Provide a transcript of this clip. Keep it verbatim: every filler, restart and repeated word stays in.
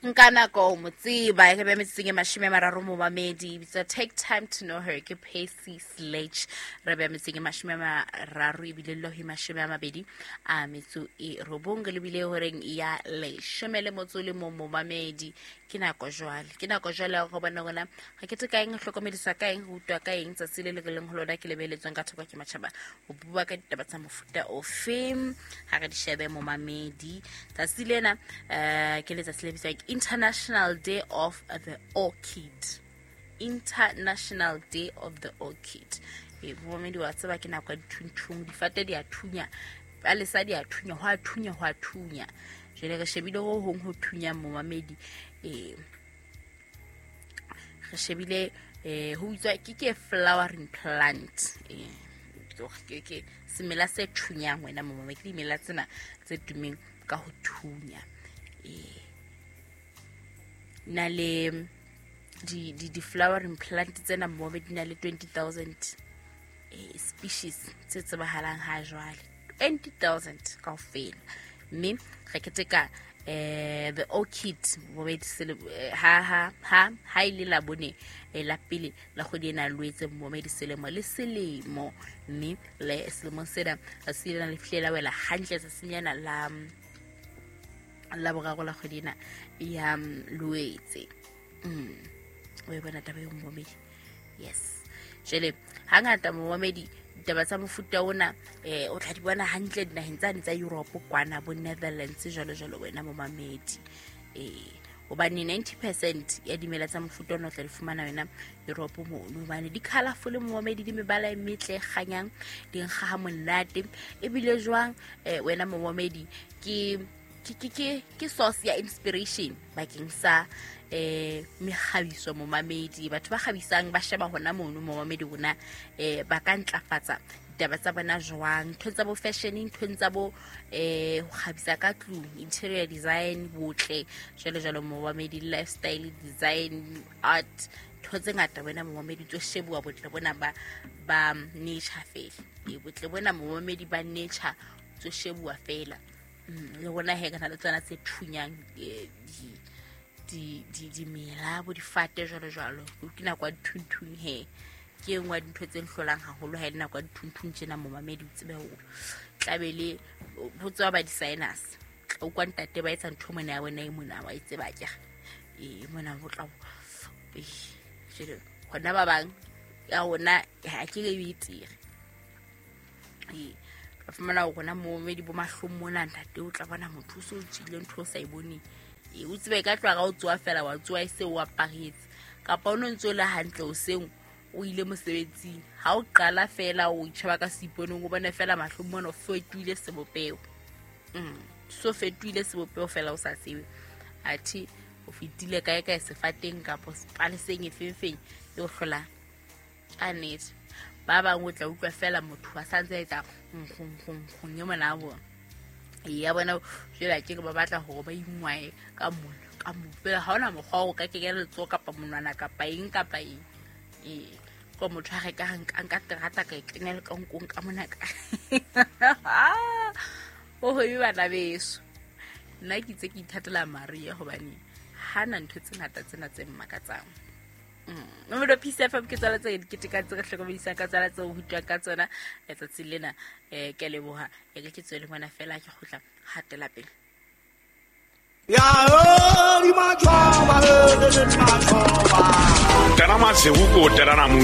Nka nako ho mo tseba e re be metsotsong e mashome a mararo momamedi bitsa Take Time to Know Her ke Percy Sledge. Re be metsotsong e mashome a mararo ebile le ho mashome a mabedi a metso e robong re lebile horeng ya leshome le motso le mong momamedi. Ke nako jwale, ke nako jwale ya go bona rona re keteka eng, re hlokomediswa ka eng, re utlwa ka eng tsatsi le le re leng ho lona ke lebeletsweng ka thoko ke matjhaba ho bua ka ditaba tsa mofuta ofe. Ha re di shebe momamedi, tsatsi lena eh ke letsatsi le bitswang International Day of the Orchid. International Day of the Orchid. E momamedi wa tseba ke nako ya dithunthung, difate di a thunya, palesa di a thunya, ho a thunya, ho a thunya. Jwale re shebile ho hong ho thunyang momamedi, eh re shebile eh ho bitswa ke ke flowering plant, eh ke ke semela se thunyang wena momamedi, ke dimela tsena tse tumeng ka ho thunya. Eh na le di di di flowering plant tsena momamedi di na le twenty thousand eh species tse tsebahalang ha jwale, twenty thousand kaofela. Mme re keteka eh the orchid momamedi sele ha ha ha ha ile la bone la pele la kgwedi ena Loetse momamedi selemo le selemo. Mme le selemo sena se ile le fihlela wela hantle tsatsinyana la la boraro la kgwedi ena ya Loetse. Mm o e bona taba eo momamedi. Yes, jwale hangata momamedi ditaba tsa mofuta ona eh o tla di bona hantle dinaheng tsane tsa Europe kwana bo Netherlands jwalo jwalo wena momamedi. Eh hobane ninety percent ya dimela tsa mofuta ona o tla di fumana wena Europe mono, hobane di colorful momamedi, di mebala e metle e kganyang, di nkga ha monate. Ebile jwang eh wena momamedi ke ke ke ke ke source ya inspiration bakeng sa eh mekgabiso momamedi. Batho ba kgabisang ba sheba hona mono momamedi rona eh ba ka ntlafatsa ditaba tsa bona jwang, ntho tsa bo fashion, ntho tsa bo eh ho kgabisa ka tlung, interior design, botle jwalo jwalo momamedi, lifestyle design, art, ntho tse ngata wena momamedi tso shebuwa botle bona ba ba nature fela. E botle bona momamedi ba nature tso shebuwa fela. Le rona he kana le tsona tse thunyang di di di dimela bo difate jwalo jwalo. Ke nako ya dithunthung he, ke e nngwe ya dintho tse nhlolang haholo ha e le nako ya dithunthung tjena momamedi. O tsebe hore tlabe le ho tswa ba designers o kwa ntate ba etsa ntho mona ya bona e mona wa e tseba ke e mona ho tla jwale hona ba bang ya rona ha ke re e tere e ba fumana hore rona momamedi bo mahlong mona ntate o tla bona motho o so tswile ntho o sa e boneng. E o tsebe ka tloha o tsoa fela wa tsoa e se o aparetse kapa o no ntso le hantle o seng o ile mosebetsing, ha o qala fela o itjheba ka seiponeng o bone fela mahlong mona o fetohile sebopeho. Mm so fetohile sebopeho fela o sa tsebe athe o fetile kae kae sefateng kapa sepaleseng e feng e o hlolang ka nnete. Ba bang o tla utlwa fela motho a sa ntse a etsa nkgong nkgong nkgong e mona a bona ya bona jwale ke re ba batla hore ba ingwae ka mona ka mo fela ha hona mokgwa o ka kenya letsoho kapa monwana kapa eng kapa eng. E ko motho a reka nka nka terata ka e kenya le ka nkong ka mona ka o ho e bana beso. Nna ke itse ke ithatela Maria hobane hana ntho tse ngata tsena tse mmakatsang. Nomoro P C F M ke tsala tse dikete ka tse re hlokomedisang ka tsala tse ho utlwang ka tsona letsatsi lena. Eh ke a leboha e ke tswele mona fela ke kgutla hatela pele. Ya di machoba le machoba. Tana masewu ko tana mu